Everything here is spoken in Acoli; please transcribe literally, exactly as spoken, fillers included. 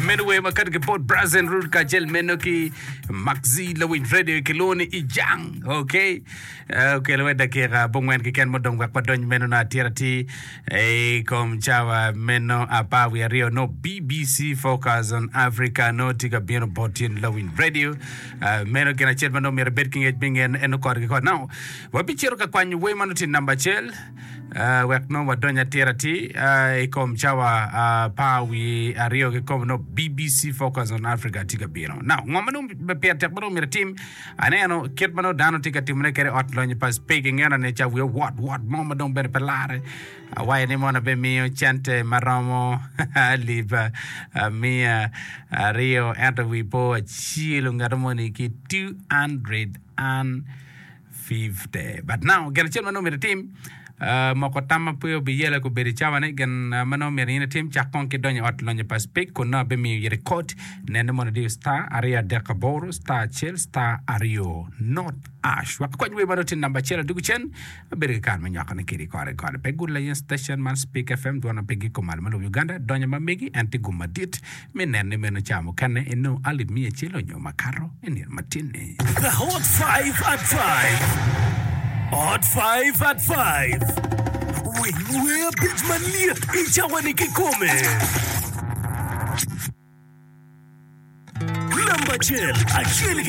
Meno wer ma kato ki bot Brazen Root kacel meno ki Maxi Lawiny Radio kilwongo ni Ijang. Okay. Uh, okelo we dakika abongwen keken mudong wek wadony meno no atir atir i kom cawa meno apar wiye aryo no BBC Focus on Africa no tye ka bino bot in Lawiny Radio. Uh, meno gin acel ma nongo myero ibed ki ngec me ngen en kore ki kore. Now, wabicito ka kwanyo wer ma nongo tye namba acel. Uh, wek nongo wadony atir atir uh, i kom cawa apar wiye aryo kikome nongo BBC Focus on Africa tye ka bino. Now, ngo ma nongo pire tek ma nongo myero itim aneno kit ma nongo dano tye ka timone kede ot lonyo pa Speke ingeno ni ca wiye wot wot mo ma dong bene pe lare awaco ni mono abimiyo cente ma romo alip miya aryo ento wi po acelo ngat moni ki two hundred and fifty. But now gin acel ma nongo myero itim uh, moko tam ma pe obiyela kobedo i cawa-ni gin uh, ma nongo myero in itim cak kong ki donyo i ot lonyo pa Speke kun nongo abimiyo iri kod nene mono idiyo star aryo adek aboro star acel star aryo not ash wek akwany wer ma nongo tye namba acel adugu cen abedo ki kare me nywakone kedi kore kore pe gud layen station man Speke F M dwon ma pe giko malo ma lobo Uganda donyo ma megi en tye gum madit me nene meno ca mukene inongo alip miya acel onyo makato i nino matin-ni. The Hot five at five. Hot five at five. Winy wer abic malyet i cawa-ni kikome. Namba acel, acel ki.